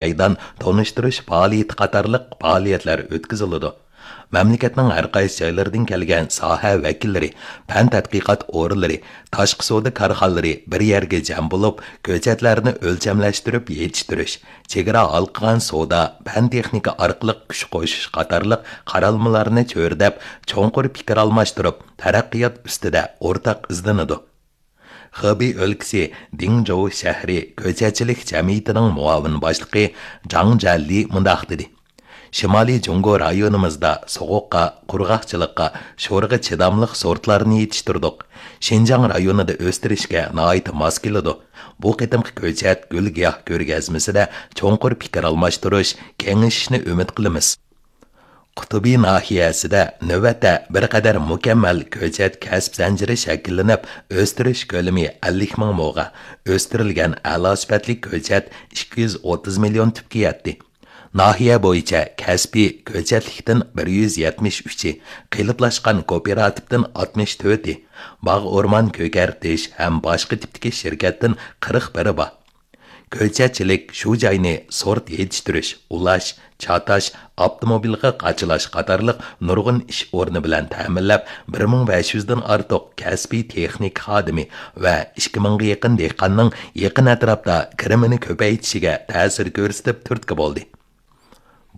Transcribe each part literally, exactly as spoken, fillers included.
مەيدان تونۇشتۇرۇش پائالىيىتى قاتارلىق پائالىيەتلەر ئۆتكۈزۈلىدۇ. مەملىكەتنىڭ ھەر قايسى جايلىرىدىن كەلگەن ساھە ۋەكىللىرى، پەن تەتقىقات ئورۇنلىرى، تاشقى سودا كارخانىلىرى بىر يەرگە جەم بولۇپ، كۆچەتلەرنى ئۆلچەملەشتۈرۈپ يېتىشتۈرۈش، چېگرا ھالقىغان سودا، پەن تېخنىكا ئارقىلىق كۈچ قوشۇش قاتارلىق قارالمىلارنى چۆرىدەپ، چوڭقۇر پىكىر ئالماشتۇرۇپ، تەرەققىيات ئۈستىدە ئورتاق ئىزدىنىدۇ. خېبېي ئۆلكىسى دىڭجوۋ شەھىرى كۆچەتچىلىك جەمئىيىتىنىڭ مۇئاۋىن باشلىقى جاڭ جيەنلى مۇنداق دېدى: شىمالىي جۇڭگو رايونىمىزدا سوغۇققا، قۇرغاقچىلىققا، شورىغا چىداملىق سورتلارنى يېتىشتۈردۇق. شىنجاڭ رايونىدا ئۆستۈرۈشكە ناھايىتى ماس كېلىدۇ. بۇ قېتىمقى كۆچەت گۈل-گىياھ كۆرگەزمىسىدە چوڭقۇر پىكىر ئالماشتۇرۇش، كېڭىشىشنى ئۈمىد قىلىمىز. قۇتۇبى ناھىيەسىدە نۆۋەتتە بىر قەدەر مۇكەممەل كۆچەت كەسىپ زەنجىرى شەكىللىنىپ، ئۆستۈرۈش كۆلىمى ئەللىك مىڭ موغا، ئۆستۈرۈلگەن ئەلا سۈپەتلىك كۆچەت ئىككى يۈز ئوتتۇز مىليون تۈپكە يەتتى. ناھىيە بويىچە كەسپىي كۆچەتلىكتىن بىر يۈز يەتمىش ئۈچى، قېلىپلاشقان كوپىراتىپتىن ئاتمىش تۆتى، باغ ئورمان كۆكەرتىش ھەم باشقا تىپتىكى شىركەتتىن قىرىق بىرى بار. كۆچەتچىلىك شۇ جاينى سورت يېتىشتۈرۈش، ئۇلاش، چاتاش، ئاپتوموبىلغا قاچىلاش قاتارلىق نۇرغۇن ئىش ئورنى بىلەن تەمىنلەپ، بىر مىڭ بەش يۈزدىن ئارتۇق كەسپىي تېخنىكا خادىمى ۋە ئىككى مىڭغا يېقىن دېھقاننىڭ يېقىن ئەتراپتا كىرىمىنى كۆپەيتىشىگە تەسىر كۆرسىتىپ تۈرتكە بولدى.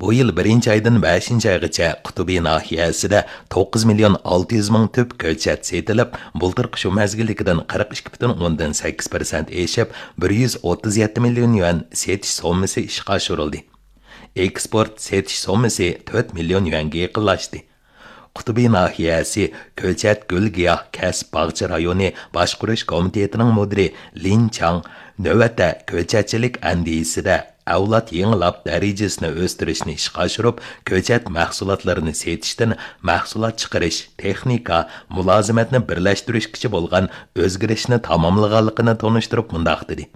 بۇ يىل بىرىنچى ئايدىن بەشىنچى ئايغىچە قۇتۇبى ناھىيەسىدە توققۇز مىليون ئالتە يۈز مىڭ تۈپ كۆچەت سېتىلىپ، بۇلتۇرقى شۇ مەزگىلدىكىدىن قىرىق ئىككى پۈتۈن ئوندىن سەككىز پىرسەنت ئېشىپ، بىر يۈز ئوتتۇز يەتتە مىليون يۈەن سېتىش سوممىسى ئىشقا ئاشۇرۇلدى. ئېكسپورت سېتىش سوممىسى تۆت مىليون يۈەنگە يېقىنلاشتى. قۇتۇبى ناھىيەسى كۆچەت گۈل-گىياھ كەسىپ باغچە رايونى باشقۇرۇش كومىتېتىنىڭ مۇدىرى لىن چاڭ نۆۋەتتە كۆچەتچىلىك ئەندىزىسىدە ئەۋلاد يېڭىلاپ دەرىجىسىنى ئۆستۈرۈشنى ئىشقا ئاشۇرۇپ، كۆچەت مەھسۇلاتلىرىنى سېتىشتىن مەھسۇلات چىقىرىش، تېخنىكا، مۇلازىمەتنى بىرلەشتۈرۈشكىچە بولغان ئۆزگىرىشنى تاماملىغانلىقىنى تونۇشتۇرۇپ مۇنداق دېدى: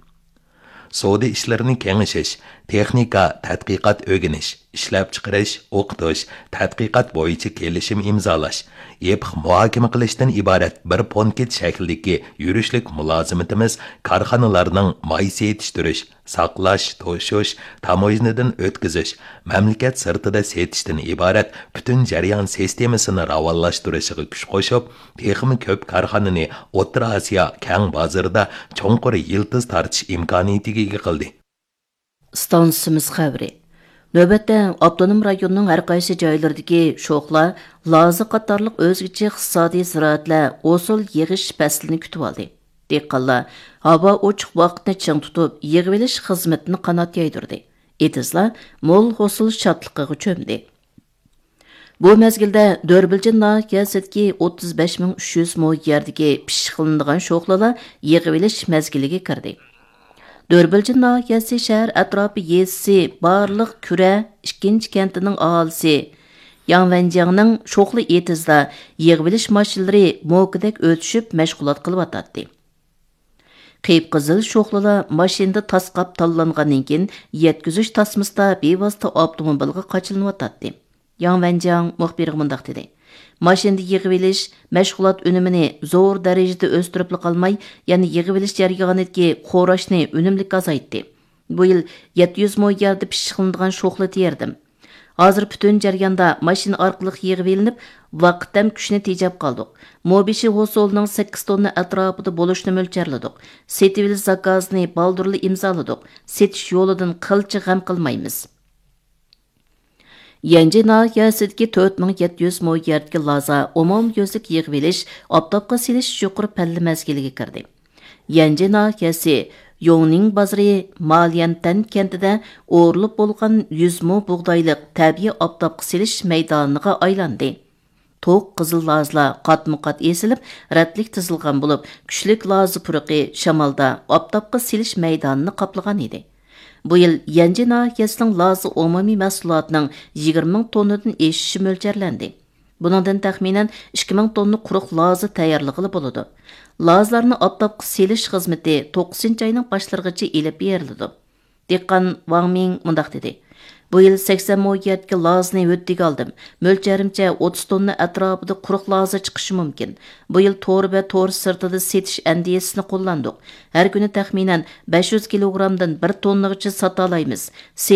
سودا ئىشلىرىنى كېڭىشىش، تېخنىكا، تەتقىقات، ئۆگىنىش، ئىشلەپچىقىرىش، ئوقۇتۇش، تەتقىقات بويىچە كېلىشىم ئىمزالاش، يېپىق مۇھاكىمە قىلىشتىن ئىبارەت بىر پونكىت شەكلىدىكى يۈرۈشلۈك مۇلازىمىتىمىز كارخانىلارنىڭ ماي سېتىشتۈرۈش، ساقلاش، توشۇش، تاموژنىدىن ئۆتكۈزۈش، مەملىكەت سىرتىدا سېتىشتىن ئىبارەت پۈتۈن جەريان سىستېمىسىنى راۋانلاشتۇرۇشىغا كۈچ قوشۇپ، تېخىمۇ كۆپ كارخانىنى ئوتتۇرا ئاسىيا كەڭ بازىرىدا چوڭقۇر يىلتىز تارتىش ئىمكانىيىتىگە ئىگە قىلدى. ئىستانسىمىز خەۋىرى. نۆۋەتتە ئاپتونوم رايوننىڭ ھەر قايسى جايلىرىدىكى شوخلا، لازا قاتارلىق ئۆزگىچە ئىقتىسادىي زىرائەتلەر ھوسۇل يىغىش پەسلىنى كۈتۈۋالدى. دېھقانلار ھاۋا ئوچۇق ۋاقىتنى چىڭ تۇتۇپ، يىغىۋېلىش خىزمىتىنى قانات يايدۇردى. ئېتىزلار مول ھوسۇل شادلىقىغا چۆمدى. بۇ مەزگىلدە دۆربىلجىن ناھىيەسىدىكى ئوتتۇز بەش مىڭ ئۈچ يۈز مو يەردىكى پىششىقلىنىدىغان شوخلىلار يىغىۋېلىش مەزگىلىگە كىردى. دۆربىلجىن ناھىيەسى شەھەر ئەتراپى يېزىسى بارلىق كۈرە ئىككىنچى كەنتىنىڭ ئاھالىسى ياڭ ۋەنجياڭنىڭ شوخلا ئېتىزىدا يىغىۋېلىش ماشىنىلىرى موكىدەك ئۆتۈشۈپ مەشغۇلات قىلىۋاتاتتى. قىپقىزىل شوخلىلار ماشىنىدا تاسقاپ تاللانغاندىن كېيىن، يەتكۈزۈش تاسمىسىدا بىۋاسىتە ئاپتوموبىلغا قاچىلىنىۋاتاتتى. ياڭ ۋەنجياڭ مۇخبىرغا مۇنداق دېدى: ماشىنىدا يىغىۋېلىش، مەشغۇلات ئۈنۈمىنى زور دەرىجىدە ئۆستۈرۈپلا قالماي، يەنە يىغىۋېلىش جەريانىدىكى خوراشنى ئۈنۈملۈك ئازايتتى. بۇ يىل يەتتە يۈز مو يەردە پىششىقلىنىدىغان شوخلا تېرىدىم. ھازىر پۈتۈن جەرياندا ماشىنا ئارقىلىق يىغىۋېلىنىپ، ۋاقىت ھەم كۈچنى تېجەپ قالدۇق. مو بېشى ھوسۇلىنىڭ سەككىز توننا ئەتراپىدا بولۇشىنى مۆلچەرلىدۇق. سېتىۋېلىش زاكازىنى بالدۇرلا ئىمزالىدۇق. سېتىش يولىدىن قىلچە غەم قىلمايمىز. يەنجى ناھىيەسىدىكى تۆت مىڭ يەتتە يۈز مو يەردىكى لازا ئومۇميۈزلۈك يىغىۋېلىش، ئاپتاپقا سېلىش يۇقىرى پەللە مەزگىلىگە كىردى. يەنجى ناھىيەسى يوڭنىڭ بازىرى ماليەنتەن كەنتىدە ئورۇلۇپ بولغان يۈز مو بۇغدايلىق تەبىئىي ئاپتاپقا سېلىش مەيدانىغا ئايلاندى. توق قىزىل لازىلار قاتمۇ قات ئېسىلىپ، رەتلىك تىزىلغان بولۇپ، كۈچلۈك لازا پۇرىقى شامالدا ئاپتاپقا سېلىش مەيدانىنى قاپلىغان ئىدى. بۇ يىل يەنجى ناھىيەسىنىڭ لازا ئومۇمىي مەھسۇلاتىنىڭ يىگىرمە مىڭ توننىدىن ئېشىشى مۆلچەرلەندى. بۇنىڭدىن تەخمىنەن ئىككى مىڭ توننا قۇرۇق لازا تەييارلىغىلى بولىدۇ. لازىلارنى ئاپتاپقا سېلىش خىزمىتى توققۇزىنچى ئاينىڭ باشلىرىغىچە ئېلىپ بېرىلىدۇ. دېھقان ۋاڭ مىڭ مۇنداق دېدى: بۇ يىل سەكسەن مو يەردىكى لازىنى ھۆددىگە ئالدىم. مۆلچەرىمچە، ئوتتۇز توننا ئەتراپىدا قۇرۇق لازا چىقىشى مۇمكىن. بۇ يىل تور ۋە تور سىرتىدا سېتىش ئەندىزىسىنى قوللاندۇق. ھەر كۈنى تەخمىنەن بەش يۈز كىلوگرامدىن بىر توننىغىچە ساتالايمىز. سېت